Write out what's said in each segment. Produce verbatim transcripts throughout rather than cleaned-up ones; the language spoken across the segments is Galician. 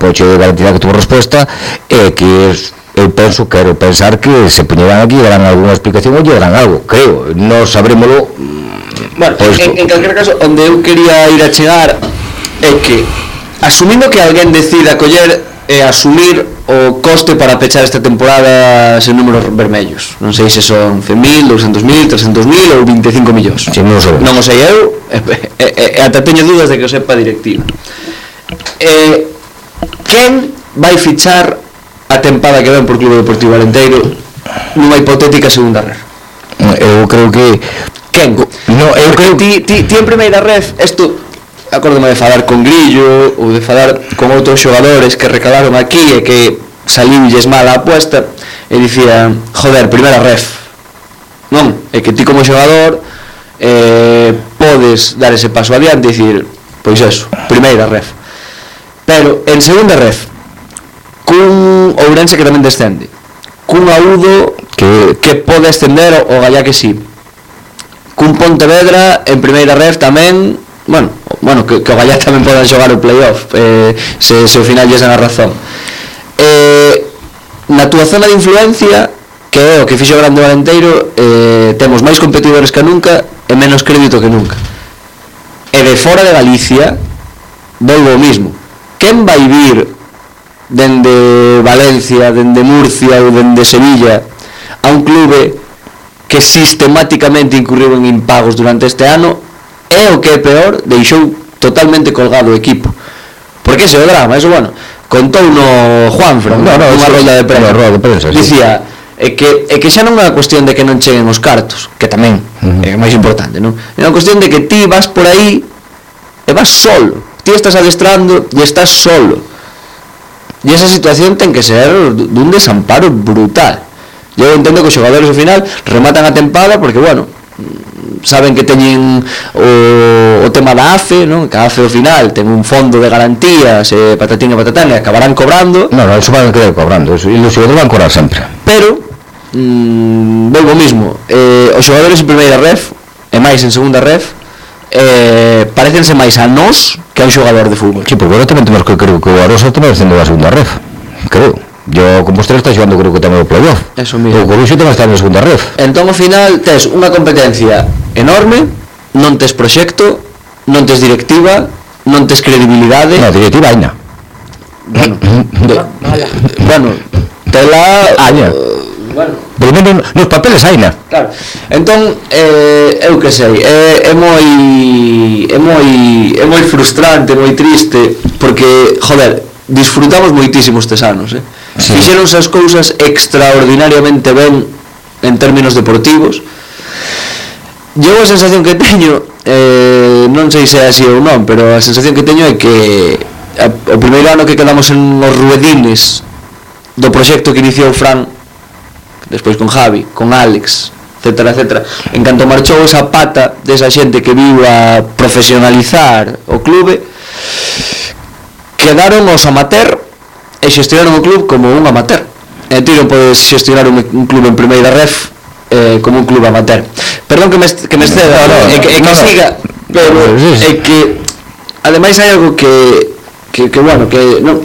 reproche de garantía que tuvo resposta é que eu penso, quero pensar que se poñerán aquí, darán alguna explicación ou darán algo, creo, non sabrémolo. Bueno, en, en calquer caso, onde eu quería ir a chegar é que, asumindo que alguén decida coller e asumir o coste para pechar esta temporada sen números vermellos, non sei se son cen mil, doscientos mil, trescentos mil ou vinte e cinco millóns, sí, non, non o sei eu, e, e, e ata teño dúdas de que o sepa a directiva. E, quen vai fichar a tempada que ven por Clube Deportivo Alenteiro nunha hipotética segunda ref? Eu creo que quen? No, eu creo que ti, ti, ti en primeira ref, isto acórdome de falar con Grillo ou de falar con outros xogadores que recalaron aquí e que saliulles mal a apuesta e dicían, joder, primeira ref non, é que ti como xogador eh, podes dar ese paso adiante e dicir, pois eso, primeira ref, pero en segunda ref cun Ourense que tamén descende, cun Aúdo que, que pode ascender o Gallá que sí, cun Pontevedra en primeira ref tamén, bueno, bueno que, que o Gallá tamén podan xogar o playoff, eh, se, se ao final lles dan a razón. Eh, na túa zona de influencia, que é o que fixo grande o Alenteiro, eh, temos máis competidores que nunca e menos crédito que nunca. E de fora de Galicia, volvo o mismo. Quen vai vir dende Valencia, dende Murcia ou dende Sevilla a un clube que sistemáticamente incurriu en impagos durante este ano e o que é peor, deixou totalmente colgado o equipo? Porque ese é o drama, eso, bueno, contou no Juanfran, no, no, unha rolda de prensa, no, de prensa sí. Dicía é que, é que xa non é unha cuestión de que non cheguen os cartos, que tamén uh-huh. é máis importante, non? É unha cuestión de que ti vas por aí e vas solo, ti estás adestrando e estás solo. E esa situación ten que ser dun desamparo brutal. Eu entendo que os xogadores ao final rematan a tempada porque, bueno, saben que teñen o, o tema da A F E, non? Que a A F E ao final ten un fondo de garantías e patatín e patatán e acabarán cobrando. Non, non, eso van a quedar cobrando, eso, e os xogadores van a cobrar sempre. Pero, mmm, volvo mismo, eh, os xogadores en primeira ref e máis en segunda ref eh, parecense máis a nós que a un xogador de fútbol. Sí, porque agora tamén temos que creo que o Arosa tamén descendo a segunda ref, creo. Yo como Compostela está xogando creo que tamén o playoff. Eso mismo. O Coruxo tamén está na segunda ref. Entón ao final tes unha competencia enorme, non tes proxecto, non tes directiva, non tes credibilidade. No, directiva aina. Bueno, de, bueno, tela aña. Uh, bueno, polo menos nos papeles aina. Claro. Entón, eh, eu que sei, é, é moi é moi é moi frustrante, moi triste, porque, joder, disfrutamos moitísimo estes anos, eh. Sí. Fixeronse as cousas extraordinariamente ben en términos deportivos. Eu a sensación que teño, eh, non sei se é así ou non, pero a sensación que teño é que a, o primeiro ano que quedamos en os ruedines do proxecto que iniciou Fran, despois con Javi, con Alex, etcétera, etcétera, en canto marchou esa pata desa xente que viu a profesionalizar o clube, quedaron os amateur e xestionaron o club como un amateur. E ti non podes xestionar un, un club en primeira ref eh, como un club amateur. Perdón que me, que me exceda, no, no, no, é que, é que no, siga, pero é que ademais hai algo que que, que bueno, que non,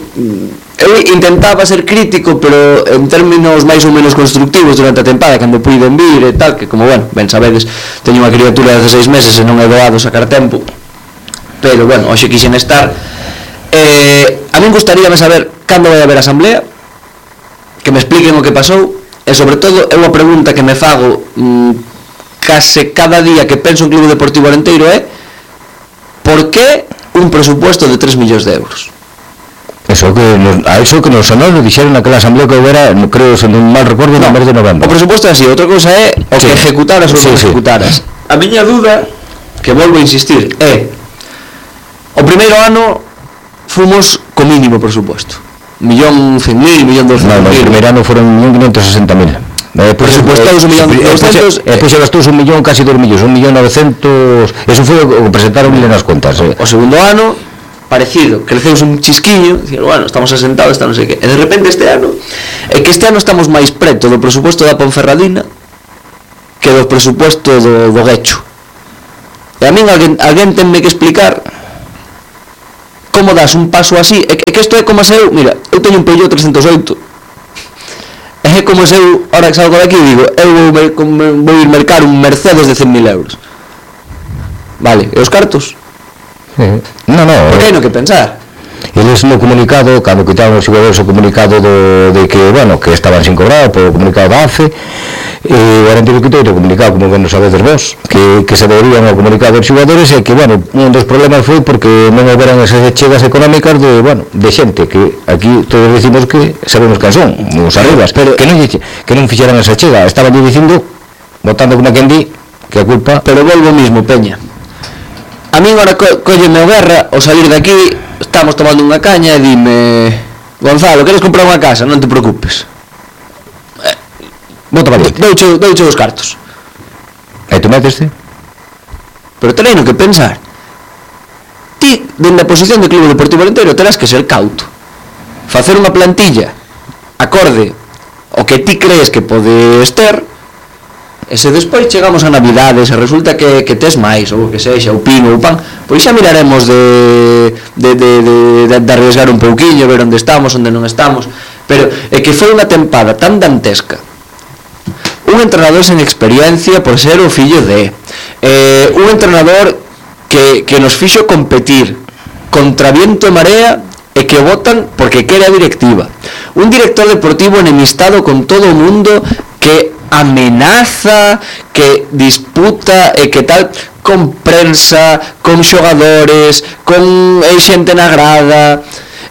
eu intentaba ser crítico, pero en términos máis ou menos constructivos durante a tempada, cando puiden vir e tal, que como, bueno, ben sabedes, teño unha criatura de dezaseis meses e non é doado sacar tempo, pero, bueno, hoxe quixen estar. Eh, a min gustaríame saber cando vai haber asamblea, que me expliquen o que pasou, e sobre todo é unha pregunta que me fago mmm, case cada día que penso en Clube Deportivo Alenteiro é por que un presupuesto de tres millóns de euros? Eso que nos, a eso que nos sonó, nos dixeron naquela asamblea que houbera, no creo, se non mal recordo, no mes de novembro. O presupuesto é así, outra cousa é o sí. que ejecutaras ou sí, non ejecutaras. Sí. A miña dúda, que volvo a insistir, é o primeiro ano fomos co mínimo presupuesto, millón cen mil, millón doscientos mil. No, no, o primeiro ano foron un millón quinientos sesenta mil. Presupuestados un millón doscientos. E depois gastou un millón, casi dos millóns, un millón novecientos. Eso foi o que presentaron nas contas. O segundo ano parecido, creceus un chisquiño, dicir, bueno, estamos asentados, está non sei que. E de repente este ano, é que este ano estamos máis preto do presupuesto da Ponferradina que do presupuesto do, do Guecho. E a min alguén, alguén tenme que explicar como das un paso así, é que, é que isto é como se eu, mira, eu teño un Peugeot trescentos oito, é como se eu, ahora que salgo de aquí, digo, eu vou, vou ir mercar un Mercedes de cen mil euros, vale, e os cartos? Sí. No, no, porque hai no que pensar. Eles no comunicado, cando quitaron os xogadores o comunicado do, de que, bueno, que estaban sin cobrar por o comunicado da A F E, e o Arenteiro quitou o comunicado, como que non sabedes vos, que, que se deberían ao comunicado dos xogadores, e que, bueno, un dos problemas foi porque non houberan esas chegas económicas de, bueno, de xente, que aquí todos decimos que sabemos que son, os arribas, pero que non, que non fixeran esa chega, estaban dicindo, votando como quen di, que a culpa... Pero volvo mismo, Peña. A mí agora co colleme o guerra, ao salir de aquí, estamos tomando unha caña e dime: Gonzalo, queres comprar unha casa? Non te preocupes, eh, vota para ti, douche, douche os cartos. E tú meteste? Pero terei no que pensar. Ti, dende a posición de Clube Deportivo Arenteiro, terás que ser cauto, facer unha plantilla acorde ao que ti crees que podes ter. E se despois chegamos a Navidades e resulta que, que tes máis, ou que sexa, o pino ou o pan, pois xa miraremos de, de, de, de, de, de arriesgar un pouquiño, ver onde estamos, onde non estamos. Pero é que foi unha tempada tan dantesca, un entrenador sen experiencia por ser o fillo de eh, un entrenador que, que nos fixo competir contra viento e marea e que o votan porque quere a directiva, un director deportivo enemistado con todo o mundo, que amenaza, que disputa e que tal, con prensa, con xogadores, con xente na grada,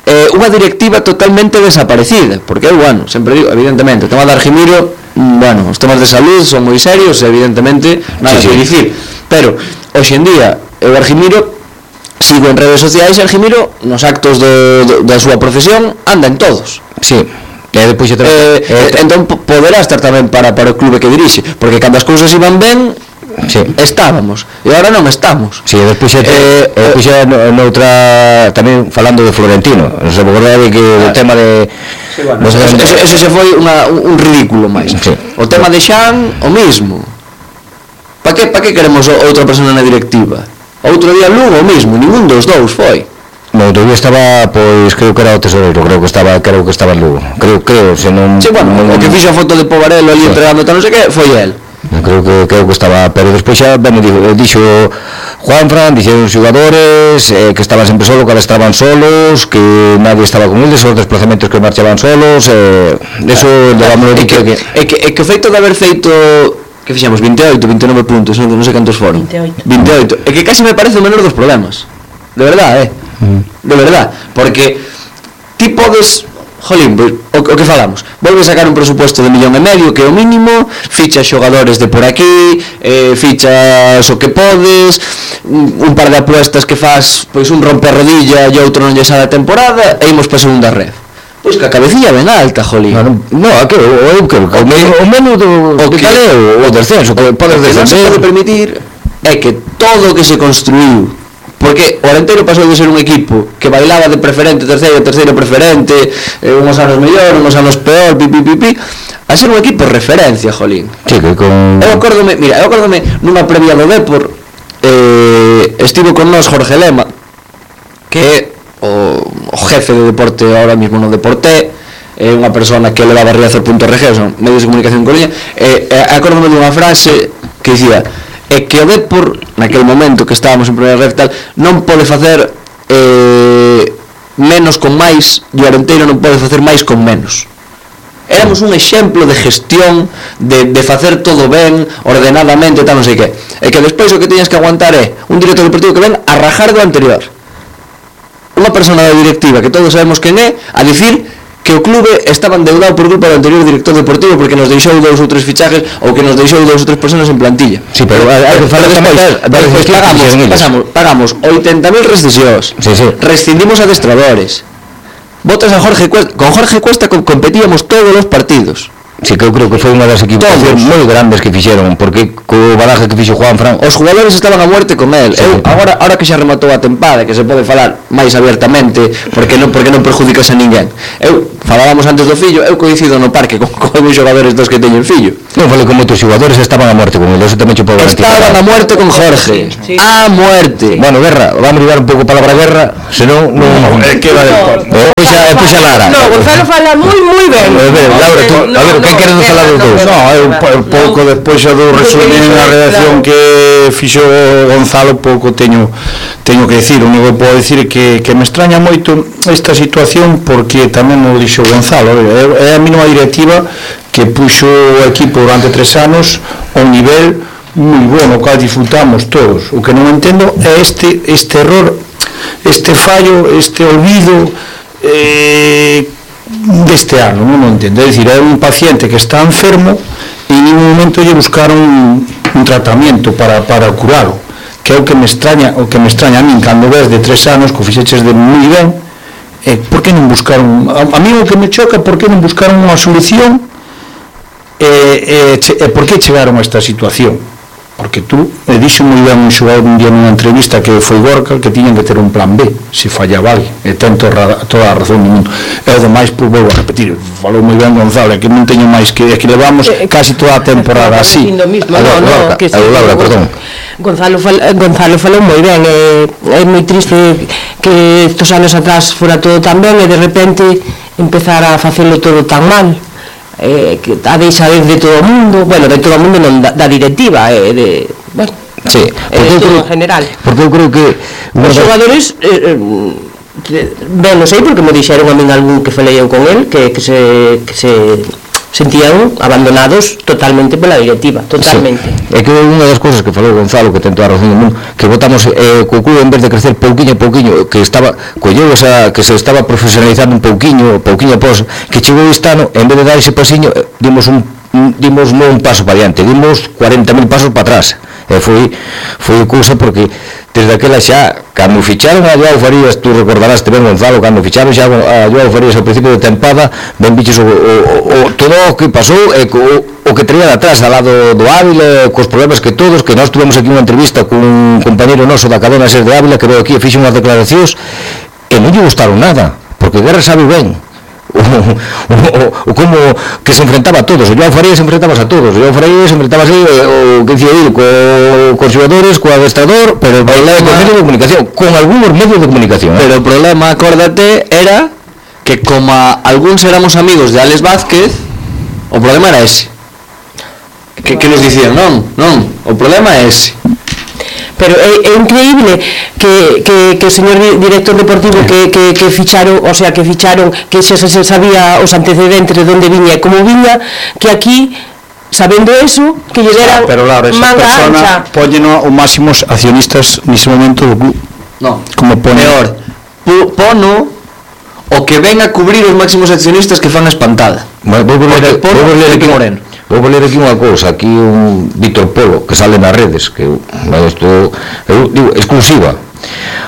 eh, unha directiva totalmente desaparecida, porque eu, bueno, sempre digo, evidentemente, o tema de Argimiro, bueno, os temas de salud son moi serios, evidentemente, nada sí, que sí. dicir, pero, hoxe en día, eu Argimiro, sigo en redes sociais, Argimiro, nos actos do, do, da súa profesión, anda en todos. Sí. E depois xa eh, eh, entón poderá estar tamén para, para o clube que dirixe, porque cando as cousas iban ben, sí, estábamos, e agora non estamos. Si, sí, depois xa eh, eh, xa noutra, tamén falando de Florentino, non se acordade que ah, o tema de sí, bueno, eso, eso, eso, eso xa foi unha, un ridículo máis. Sí. O tema de Xan, o mismo. Pa que, pa que queremos outra persona na directiva? Outro día Lugo, o mismo, ningún dos dous foi. No, todavía estaba, pois, creo que era o tesoreiro, creo que estaba, creo que estaba en Lugo. Creo, creo, se non... Sí, bueno, non, o que fixo a foto de Povarelo ali sí, entregando tal non sei que, foi el. Creo que, creo que estaba, pero despois xa, ben, dixo Juanfran, dixeron os xogadores, eh, que estaban sempre solos, que estaban solos, que nadie estaba con eles, os desplazamentos que marchaban solos, eh, eso, ah, levámoslo é que, que, é que, é que o feito de haber feito... que fixemos veinte e oito, vinte e nove puntos, non, non sei cantos foron. vinte e oito. vinte e oito. É que casi me parece o menor dos problemas. De verdade, eh. De verdade, porque ti podes, jolín, o, o que falamos, volves a sacar un presupuesto de millón e medio, que é o mínimo, fichas xogadores de por aquí, eh, fichas o que podes, un par de apuestas que faz, pois un romper rodilla e outro non lle sale a temporada, e imos para a segunda red. Pois que a cabecilla ben alta, jolín. No, no, a que o que o menos do o que tal é o descenso, que podes descender. O que non se pode permitir é que todo o que se construiu, porque o Arenteiro pasou de ser un equipo que bailaba de preferente, terceiro, terceiro preferente, eh, unhos anos mellor, unhos anos peor, pi, pi, pi, pi, a ser un equipo referencia, jolín. Sí, que con... Eu acórdome, mira, eu acórdome nunha previa do Depor, eh, estivo con nós Jorge Lema, que é o, o jefe de deporte ahora mismo no Deporté, é unha persona que levaba a riazor punto org, son medios de comunicación en Coruña, e eh, acórdome dunha frase que dicía: é que o Depor, naquele momento que estábamos en primeira red tal, non pode facer eh, menos con máis, e o Arenteiro non pode facer máis con menos. Éramos un exemplo de gestión, de, de facer todo ben, ordenadamente, tal, non sei que. E que despois o que tiñas que aguantar é un director deportivo que ven a rajar do anterior. Unha persona da directiva, que todos sabemos quen é, a dicir que o clube estaba endeudado por culpa do anterior director deportivo porque nos deixou dous ou tres fichajes ou que nos deixou dous ou tres personas en plantilla. Sí, pero hai que falar tamén despois pagamos, pasamos, pagamos oitenta mil rescisións. Sí, sí. Rescindimos adestradores. Botas a Jorge Cuesta, con Jorge Cuesta competíamos todos os partidos. Sí, que eu creo que foi unha das equivocacións moi grandes que fixeron, porque co baraje que fixo Juan Fran, os jugadores estaban a muerte con él. Sí. Eu, agora, agora que xa rematou a tempada, que se pode falar máis abiertamente, porque non porque non perjudicas a ninguén. Eu falábamos antes do fillo, eu coincido no parque con, con os xogadores dos que teñen fillo. Non falei con moitos xogadores, estaban a muerte con ele, eso tamén che podo garantizar. Estaban a muerte con Jorge. Sí. A muerte. Bueno, Guerra, vamos a ligar un pouco a palabra guerra, senón non non é que va despois. Pois xa, pois xa Lara. No, Gonzalo fala moi moi ben. A ver, Laura, tú, a ver, que queres falar dos dous? No, eu pouco despois xa do resumen a redacción que fixo Gonzalo, pouco teño teño que decir. O único que podo decir é que, que me extraña moito esta situación, porque tamén o dixo Gonzalo, é a mínima directiva que puxo o equipo durante tres anos a un nivel moi bueno, o cal disfrutamos todos. O que non entendo é este este error, este fallo, este olvido eh, deste ano, non o entendo. É dicir, é un paciente que está enfermo e en ningún momento lle buscaron un, un tratamento para, para curalo, que é o que me extraña, o que me extraña a min cando ves de tres anos que o fixeches de moi ben. Eh, por que non buscaron, a, a mí o que me choca, por que non buscaron unha solución e eh, eh, eh, por que chegaron a esta situación? Porque tú, eh, dixo moi ben un xogador un día nunha entrevista que foi Gorka, que tiñan que ter un plan B se fallaba alguén, e ten toda, toda a razón do mundo. E o demais, pois vou a repetir, falou moi ben Gonzalo, que non teño máis que, que levamos casi toda a temporada así. No, no, que sí, Laura, perdón. Gonzalo, fal, Gonzalo falou moi ben, é, é moi triste que estos anos atrás fora todo tan ben e de repente empezar a facelo todo tan mal. Eh, que a deixa de todo o mundo, bueno, de todo o mundo non da, da directiva, eh, de, bueno, sí, eh, de todo en general. Porque eu creo que os xogadores eh, eh, ben, non sei, porque me dixeron a min algún que falei eu con el que, que, se, que se sentían abandonados totalmente pola directiva, totalmente. Sí. É que unha das cousas que falou Gonzalo, que ten toda a razón do mundo, que votamos eh, co club en vez de crecer pouquiño a pouquiño, que estaba colleu esa, que se estaba profesionalizando un pouquiño, pouquiño após, que chegou este ano, en vez de dar ese pasiño, dimos un dimos non un paso para diante, dimos cuarenta mil pasos para atrás. E foi foi cousa porque desde aquela xa, cando ficharon a Joao Farías, tú recordarás ben Gonzalo, cando ficharon xa a Joao Farías ao principio de tempada, ben biches o, o, o, todo o que pasou e o, o que traía de atrás, ao lado do Ávila, cos problemas que todos, que nós tuvemos aquí unha entrevista con un compañero noso da cadena SER de Ávila, que veo aquí e fixe unhas declaracións e non lle gustaron nada, porque Guerra sabe ben o, o, o como que se enfrentaba a todos. O Joao Farías se enfrentaba a todos, o Joao Farías se enfrentaba así, o que dicía ir co, cos xogadores, co adestrador, pero o problema con medios de comunicación, con algúns medios de comunicación, pero eh? o problema, acórdate, era que como a algúns éramos amigos de Alex Vázquez, o problema era ese, que, que nos dicían, non, non, o problema é ese. Pero é, é increíble que, que, que o señor director deportivo que, que, que ficharon, o sea, que ficharon, que xa se sabía os antecedentes de onde viña e como viña, que aquí, sabendo eso, que lle deran pero Laura, esa manga persona ancha. póñeno os máximos accionistas nese momento do club. No, como pone peor, pono o que ven a cubrir os máximos accionistas que fan a espantada. Bueno, vou ler aquí Moreno. Vou ler aquí unha cousa, aquí un Víctor Polo que sale nas redes, que isto eu digo exclusiva.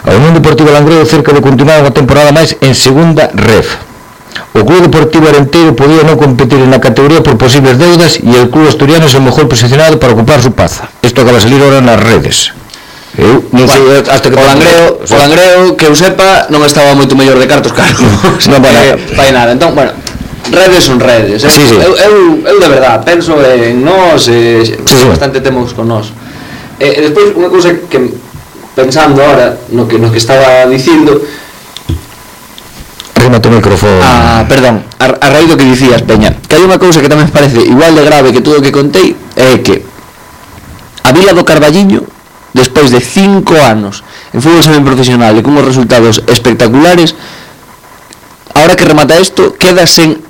A Unión Deportiva Langreo cerca de continuar unha temporada máis en segunda ref. O Club Deportivo Arenteiro podía non competir na categoría por posibles deudas e el club asturiano é o mellor posicionado para ocupar su plaza. Isto acaba de salir ahora nas redes. Eu non sei bueno, hasta que o Langreo, o Langreo que eu sepa non estaba moito mellor de cartos, claro. Non vai eh, nada. Entón, bueno, redes son redes, eh? Sí, sí. Eu, eu, eu de verdad penso en nós, eh, sí, sí. Bastante temos con nós. E eh, despois unha cousa que pensando ahora no que no que estaba dicindo, remate o micrófono. Ah, perdón, a, a raíz do que dicías, Peña, que hai unha cousa que tamén parece igual de grave que todo o que contei, é que a Vila do Carballiño, despois de cinco anos en fútbol semiprofesional e con uns resultados espectaculares, ahora que remata isto, queda sen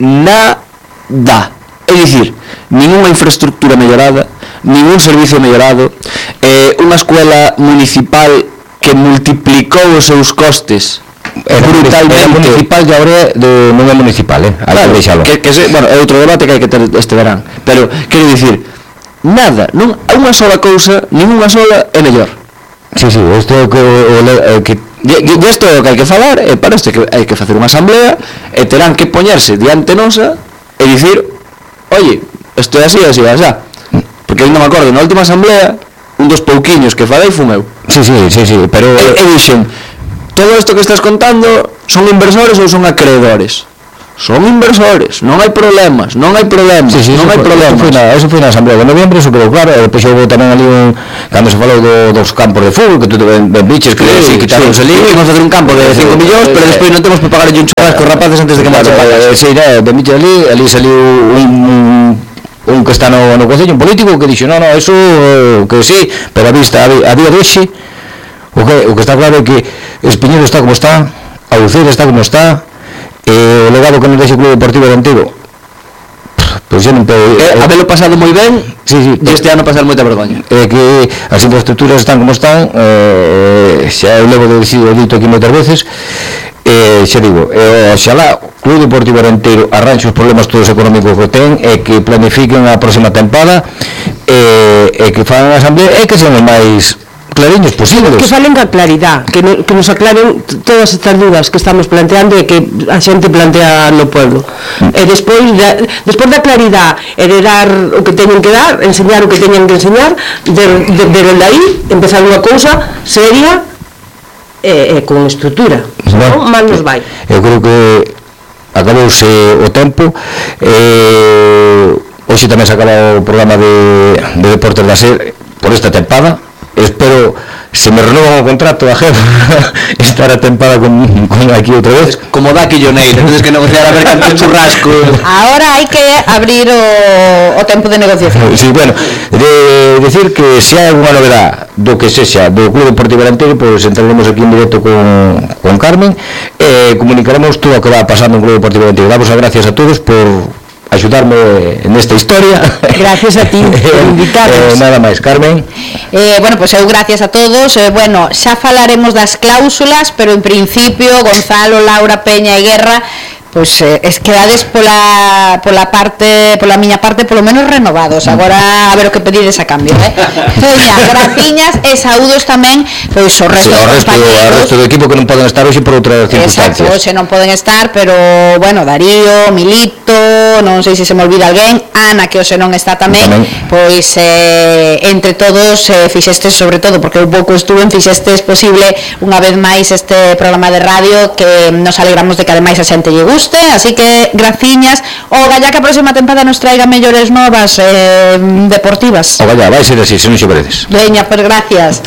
nada. É dicir, ninguna infraestructura mellorada, ningún servicio mellorado, eh, unha escuela municipal que multiplicou os seus costes é brutalmente. É municipal e agora de, non é municipal, eh? Claro, que, que se, bueno, é outro debate que hai que ter este verán, pero quero dicir, nada, non unha sola cousa, ninguna sola é mellor. Sí, sí, isto é o que, o, que e isto é o que hai que falar, e para isto que hai que facer unha asamblea e terán que poñerse diante nosa e dicir oye, isto é así, así, así. Porque eu non me acordo, na última asamblea, un dos pouquiños que falei fun eu. Sí, sí, sí, sí, pero... E, e dixen, todo isto que estás contando son inversores ou son acreedores? Son inversores, non hai problemas, non hai problemas, sí, sí, non hai foi, problemas. Eso foi, na, eso foi na Asamblea de Noviembre, eso quedou claro, e depois houve tamén ali un... Cando se falou do, dos campos de fútbol, que tú ben, ben biches, que sí, sí, quitaron sí, ali, imos facer un campo de cinco millóns, pero despois non temos que pagar un churrasco cos rapaces antes de que marchen para casa. Sí, ben biches ali, ali saliu un... un que está no, no concello, un político que dixo, no, no, eso, que sí, pero a vista, a, a día de hoxe, o que, o que está claro é que Espiñeiro está como está, a Uceira está como está, e o legado que nos deixa o Club Deportivo Antigo, pois xa non pode... Eh, habelo pasado moi ben, sí, sí, e este ano pasar moita vergoña. É que as infraestructuras están como están, eh, xa eu levo de decido dito aquí moitas veces, e xa digo, e, oxalá o Club Deportivo Arenteiro arranxe os problemas todos económicos que ten e que planifiquen a próxima tempada e, e que fagan a asamblea e que sean os máis clariños posibles. Que falen ca claridad, que, no, que nos aclaren todas estas dudas que estamos planteando e que a xente plantea no pueblo. Mm. E despois de, despois da claridad e de dar o que teñen que dar, enseñar o que teñen que enseñar, de, de, de, de aí empezar unha cousa seria e, e con estrutura. Bueno, non mal nos vai. Eu creo que acabouse o tempo, e hoxe tamén se acaba o programa de, de Deportes da SER por esta tempada. Espero, se me renovan o contrato a jefa, estar a tempada con, con aquí outra vez. Como da Quilloneira, entonces que negociar a ver canto churrasco. Ahora hai que abrir o, o tempo de negociación. Sí, bueno, de decir que se hai alguna novedad do que sexa do Club Deportivo Arenteiro, pois pues entraremos aquí en directo con, con Carmen e eh, comunicaremos todo o que va pasando no Club Deportivo Arenteiro. Damos as gracias a todos por ayudarme en esta historia. Gracias a ti por invitarnos. Eh, nada máis, Carmen. Eh, bueno, pues eu gracias a todos. Eh, bueno, xa falaremos das cláusulas, pero en principio Gonzalo, Laura, Peña e Guerra, pois eh, es quedades pola pola parte, pola miña parte polo menos renovados. Agora a ver o que pedides a cambio, eh. Peña, graciñas e saúdos tamén pois o resto, sí, o resto, o resto do equipo que non poden estar hoxe por outras circunstancias. Exacto, hoxe non poden estar, pero bueno, Darío, Milito, non sei se se me olvida alguén, Ana, que hoxe non está tamén, tamén. Pois eh, entre todos eh, fixestes, sobre todo porque eu pouco estuve, fixestes posible unha vez máis este programa de radio, que nos alegramos de que ademais a xente lle guste. Así que graciñas. O gallá que a próxima tempada nos traiga mellores novas eh, deportivas. O gallá, vai ser así, se non xe veredes. Veña, pues gracias.